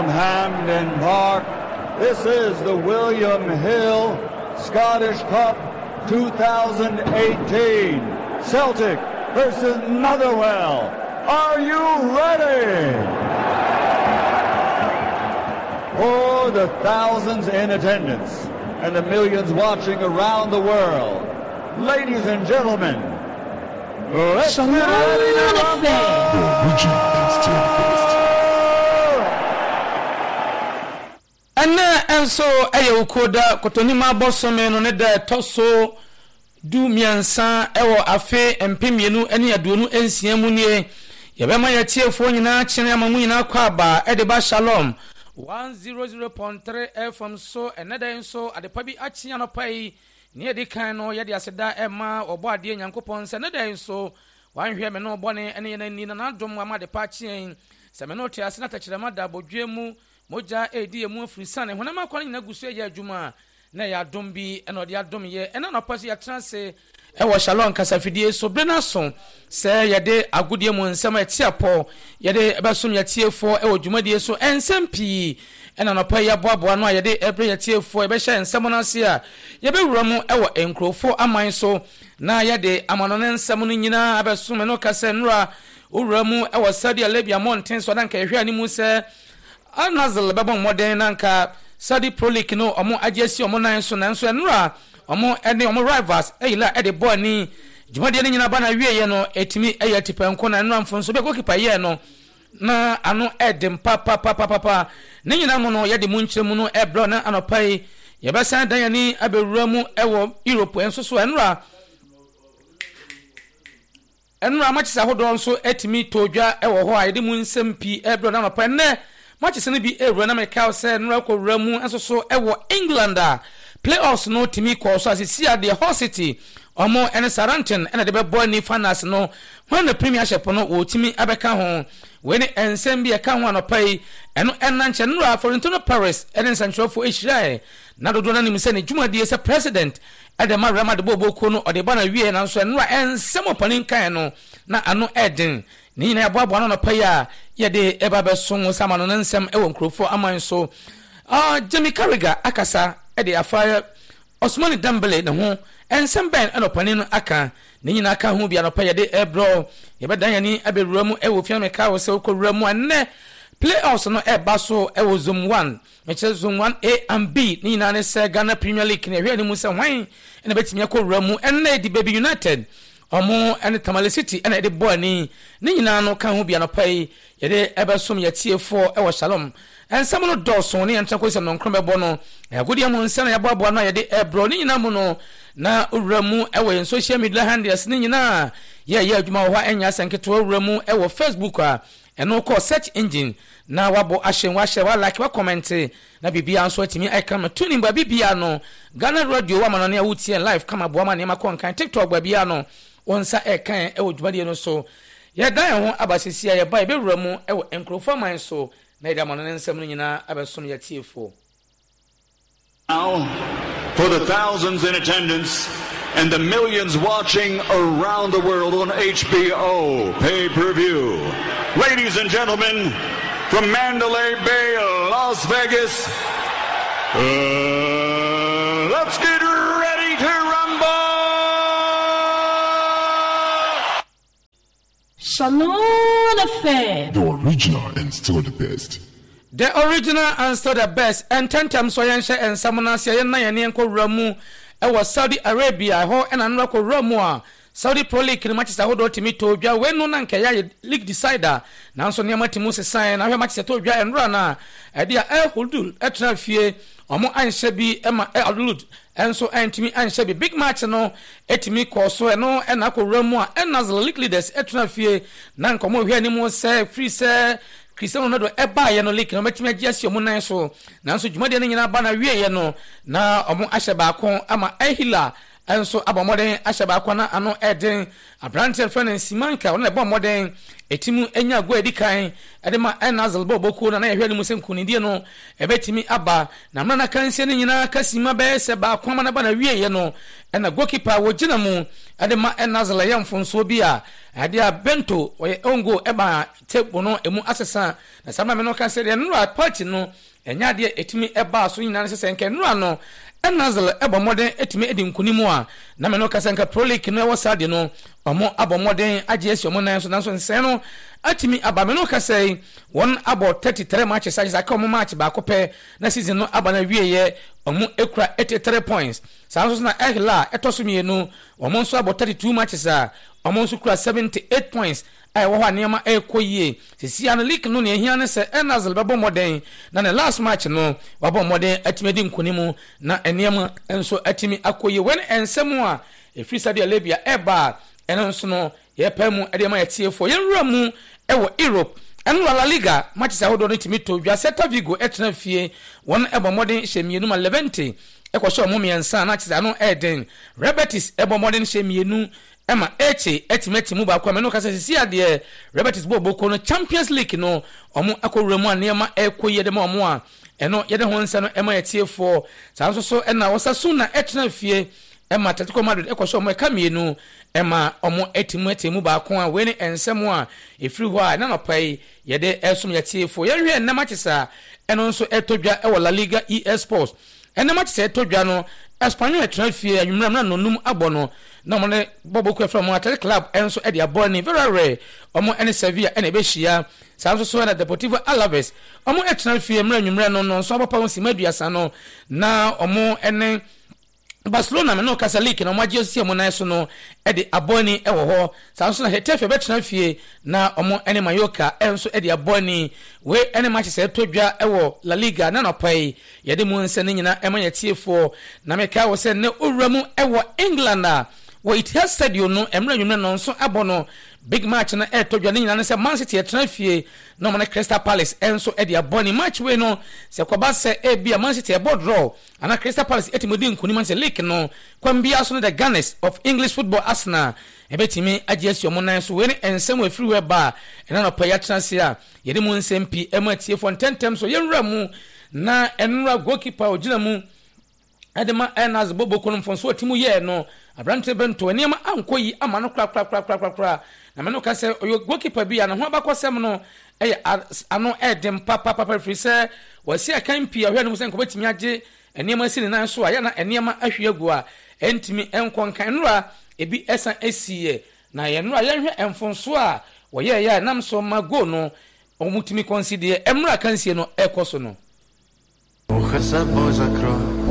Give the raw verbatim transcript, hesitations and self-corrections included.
From Hampden Park, this is the William Hill Scottish Cup twenty eighteen. Celtic versus Motherwell. Are you ready? For the thousands in attendance and the millions watching around the world, ladies and gentlemen, let's get ready to rumble! The original and still the best. Ɛnɛ nso ɛyɛ Wukuada, Kɔtɔnim abosome no ne da ɛtɔ so du mmiɛnsa ɛwɔ afe mpem mmienu ne aduonu nsia mu nie. Yɛbɛma yɛtiefoɔ nyinaa kyene ama mu nyinaa kɔ aba ɛde ba Shalom one zero zero point three F M so. Ɛnɛ da yi nso adepa bi akye anɔpa yi. Ne yɛde kan no, yɛde aseda ɛma ɔbɔ adeɛ Nyankopɔn sɛ ne da yi nso wanhwɛ me no bɔne ne yɛn ani na n'adom ama adepa akye yɛn sɛ me no te ase na tɛkyerɛma da abɔdwe mu, mogya ɛredi yɛn mu afiri sane honam akwa no nyinaa gu so ɛyɛ adwuma a na ɛyɛ adom bi ɛna ɔde adom yɛ. Ɛna nɔpa so yɛtena ase ɛwɔ Shalom kasafidie so bere no aso sɛ yɛde agodie mu nsɛm a ɛte apɔ yɛde ɛbɛsom yɛtiefoɔ ɛwɔ dwumadie so. Ɛnsɛm pii ɛna nɔpa yi yɛaboaboa no a yɛde ɛbrɛ yɛtiefoɔ. Yɛbɛhyɛ nsɛm no ase a yɛbɛwura mu ɛwɔ nkurɔfoɔ aman so na yɛde amano ne nsɛm no nyinaa abɛsom. Ɛno ka sɛ nnora wowura mu ɛwɔ Saudi Arabia mmɔnten so, na nka yɛhwɛ anim sɛ Al Nassr bɛbɔ mmɔden na nka Saudi Pro League no ɔmo agye asi ɔmo nan so, nanso ɛnora ɔmo ɛne ɔmo rivals ɛyila ɛde bɔ ani. Dwumadie no nyinaa ba na wieɛ no, ɛtumi ɛyɛ tipɛnko na ɛnora mfonso bɛ goalkeeper yɛɛ no na ano ɛden papapapapa. Ne nyinaa mu no, yɛde mu nkyerɛ mu no ɛbrɛ na anɔpa yi yɛbɛsan dan yɛni abɛwura mu ɛwɔ Europe nso so. Ɛnora ɛnora matches ahodoɔ nso atumi tɔ dwa ɛwɔ hɔ a yɛde mu nsɛm pii ɛbrɛ na anɔpa. Ɛnɛ matches no bi ɛwura na meka sɛ nnora kɔwura mu nso so ɛwɔ England a playoffs no tumi kɔɔ so asisi adeɛ. Hull City ɔmo ɛne Southampton ɛna de bɛbɔ ani finals no wɔn na Premiership no wɔtumi abɛka ho. Wei ne nsɛm bi ɛka ho anɔpa yi. Ɛno ɛna nkyɛn nnora Florentino Perez ɛne nsɛntwerɛfoɔ ahyirae na dodoɔ no anim sɛ ne dwumadie sɛ president ɛde ma Real Madrid bɔɔbɔ no ɔde ba na wie, nanso ɛnora ɛnsɛm ɔpanin kan no na ano ɛden. Ne nyinaa yɛboaboa no anɔpa yi a yɛde ɛba bɛso sama no ne nsɛm ɛwɔ nkurɔfoɔ aman so. uh, Jamie Carragher akasa ɛde afa Ousmane Dembele ne ho. Nsɛm bɛn ɛna ɔpanin no aka? Ne nyinaa ka ho bi anɔpa yɛde ɛbrɛ. Yɛbɛdan yɛni abɛwura mu ɛwɔ fia. Meka wɔ sɛ wokɔwura mu a, nnɛ playoffs no ɛba so ɛwɔ zone one, mekyerɛ zone one A and B. Ne nyinaa ne sɛ Ghana Premier League ne ɛhwɛ anim sɛ hwan ɛna bɛtumi akɔwura mu. Ɛnnɛ di Baabi United ɔmo ɛne Tamale City ɛna ɛde bɔ ani. Ne nyinaa no ka ho bi anɔpa yi yɛde ɛbɛsom yɛtiefoɔ ɛwɔ Shalom. Nsɛm no dɔɔso ne yɛntena kɔsi sɛ nnɔnkron bɛbɔ no. Agodeɛ mu nsɛm na yɛaboaboa no a yɛde ɛbrɛ. Ne nyinaa mu no, na owura mu ɛwɔ yɛn social media handles ne nyinaa yɛyɛ adwuma wɔ hɔ a ɛnyɛ asɛ nketewa. Wura mu ɛwɔ Facebook a, ɛno kɔ search engine na wabɔ ahyɛ, wahyɛ, walike, wacomment na biribiara nso atumi ɛka ma tuning baabi bia no. Ghana Radio wama no ne a wotie live kama boa ma nneɛma kɔ nkan. TikTok baabi no wɔn nsa ɛkan ɛwɔ dwumadie no so. Yɛdan yɛn ho aba sisi a yɛba, yɛbɛwura mu ɛwɔ nkurɔfoɔ aman so na yɛde ama no ne nsɛm no nyinaa abɛsom yɛtiefoɔ. Now, for the thousands in attendance and the millions watching around the world on H B O pay-per-view. Ladies and gentlemen, from Mandalay Bay, Las Vegas, uh, let's get ready to rumble! Shalom F M. The original and still the best. The original and still the best. Ntɛntɛm so yɛnhyɛ nsɛm no ase. Yɛn nan yɛn nkɔwura mu ɛwɔ Saudi Arabia hɔ. Ɛna nnora kɔwura mu a Saudi Pro League no matches ahodoɔ tumi tɔ dwa. Wei no na nkɛyɛ ayɛ league decider, nanso nneɛma tumi sesan na ahwɛ matches ɛtɔ dwa nnora no a ɛde a Al Okhdood ɛtena fie, ɔmo anhyɛ bi ɛma Al Okhdood ɛnso ɛntumi anhyɛ bi. Big match no ɛtumi kɔɔ so. Ɛno ɛna akɔwura mu a Al Nassr, league leaders, ɛtena fie na nkɔmɔ hwɛ anim sɛ firi sɛ Cristiano Ronaldo ɛbaayɛ no, league no ɔmɛtumi agye asi ɔmo nan so, nanso dwumadie no nyinaa ba na wieɛ no na ɔmo ahyɛ baako ama Al Hilal. Nso abɔ mmɔden ahyɛ baako na ano ɛden. Aberanteɛ fɛ no Simanka, ɔno na ɛbɔ mmɔden ɛtimu anya goal edi kan ɛde ma Al Nassr bɔ bokuo no. Na yɛhwɛ no mu sɛ nkonimdie no ɛbɛtumi aba na mmerɛ na kansie no nyinaa kasima bɛyɛ sɛ baako ama no ba na wieɛ no, ɛna goalkeeper a wɔgyina mu ɛde ma Al Nassr ɛyɛ mfonsoɔ bi a ɛde a Bento ɔyɛ own goal ɛba table no emu asesa. Na saa mmerɛ no ka sɛ deɛ nnora party no ɛnyɛ adeɛ ɛtumi ɛbaa so nyinaa no sɛ sɛ nkɛ nnora no Al Nassr ɛbɔ mmɔden ɛtumi ɛdi nkonim a, na mɛ no ka sɛ nka Pro League no ɛwɔ saa de no ɔmo abɔ mmɔden agye asi ɔmo nan so, nanso nsɛn no atumi aba. Mɛ no ka sɛ wɔn abɔ thirty three matches agye sɛ aka ɔmo match baako pɛ na season no aba na wieɛ. Ɔmo ekura eighty three points. Saa nso so na Al Hilal ɛtɔ so mmienu, ɔmo nso abɔ thirty two matches a ɔmo nso kura seventy eight points a ɛwɔ hɔ a nneɛma ɛrekɔ yie. Sisi ano league no, nea ehia ne sɛ Al Nassr bɛbɔ mmɔden na ne last match no wabɔ mmɔden atumi adi nkonim na nneɛma nso atumi akɔ yie. Wɔn nsɛm a efiri Saudi Arabia ɛreba a, ɛno nso no yɛpɛ mu ɛde ma yɛtiefoɔ. Yɛnwura mu ɛwɔ Europe. Ɛno La Liga matches ahodoɔ no tumi to dwa. Celta Vigo ɛtena fie, wɔn ɛbɔ mmɔden hyɛ mmienu ma Levante ɛkɔhyɛ ɔmo mmiɛnsa na kyerɛ ano ɛɛden. Real Betis ɛbɔ mmɔden hyɛ mmienu ɛma Elche ɛtumi ɛte mu baako a mɛno kasa. Sisi adeɛ Real Betis bɔ boko no, Champions League no ɔmo akɔwura mu a nneɛma ɛrekɔ yie de ma ɔmo a ɛno yɛde ho nsa no ɛma yɛtiefoɔ. Saa nso so ɛna Osasuna ɛtena fie ɛma Atletico Madrid ɛkɔhyɛ ɔmo ɛka mmienu ɛma ɔmo ɛte mu ɛte mu baako a. Wei ne nsɛm a ɛfiri hɔ a ɛna nɔpa yi yɛde ɛsom yɛtiefoɔ. Yɛnhwɛ nnɛm akyesa a ɛno nso ɛtɔ dwa ɛwɔ La Liga E A Sports. Ɛnam akyesɛ ɛtɔ dwa no, Espanyol ɛtena fie anwummerɛ mmerɛ nonum abɔ no na ɔmo ne bɔbɔ kura fɛ ɔmo Athletic Club ɛnso ɛde abɔ ne Villarreal, ɔmo ɛne Sevilla ɛna ɛbɛhyia. Saa nso so ɛna Deportivo Alaves, ɔmo ɛtena fie mmerɛ anwummerɛ no no nso abɔpa ho sima aduasa no na ɔmo ɛne Barcelona mene kasa league na ɔmo agye asi ɔmo nan so no ɛde abɔ ani ɛwɔ hɔ. Saa nso na Getafe bɛtena fie na ɔmo ɛne Mallorca ɛnso ɛde abɔ ani. Wei ɛne matches ɛtɔ dwa ɛwɔ La Liga na nɔpa yi yɛde mu nsɛm no nyinaa ɛma yɛ tiefoɔ. Na meka wɔ sɛ ne owura mu ɛwɔ England a wɔ Etihad Stadium no, mmerɛ nwummerɛ no nso abɔ no, big match no ɛɛtɔ dwa ne nyinaa ne sɛ Man City ɛtena fie na ɔmo ne Crystal Palace ɛnso ɛde abɔ ne match. Wei no sɛ kɔba sɛ ebi a Man City ɛbɔ draw ana Crystal Palace ɛtumi di nkonim sɛ league no kwan biara so no, the Gunners of English football, Arsenal, ɛbɛtumi agye asi ɔmo nan so. Wei ne nsɛm wɔ efiri hɔ ba a ɛna nɔpɛ yɛatena ase a yɛde mu nsɛm pii ɛma atiefoɔ ntɛntɛm so. Yɛnwura mu na ɛnwura goalkeeper a ogyina mu ɛde ma Al Nassr bɔbɔ kɔn mfonso a timu yɛɛ no, aberante Bento, nneɛma ankɔ yi ama no korakorakorakorakora. Na mɛ no ka sɛ ɔyɛ goalkeeper bi a ne ho abakɔsɛm no ɛyɛ ano ɛɛden papapapa, firi sɛ wɔasi akan pii a ɔhwɛ no mu sɛ nkɔbɛtumi agye nneɛma si ne nan so a yɛna nneɛma ahwie agu a ɛntumi nkɔ nkan. Nnora ebi ɛsan esiiɛ na yɛn nnora yɛnhwɛ mfonso a wɔyɛɛyɛ a ɛnam so ma goal no wɔn tumi kɔnsi deɛ mmerɛ akansie no ɛkɔ so no. Trochę собой закрой.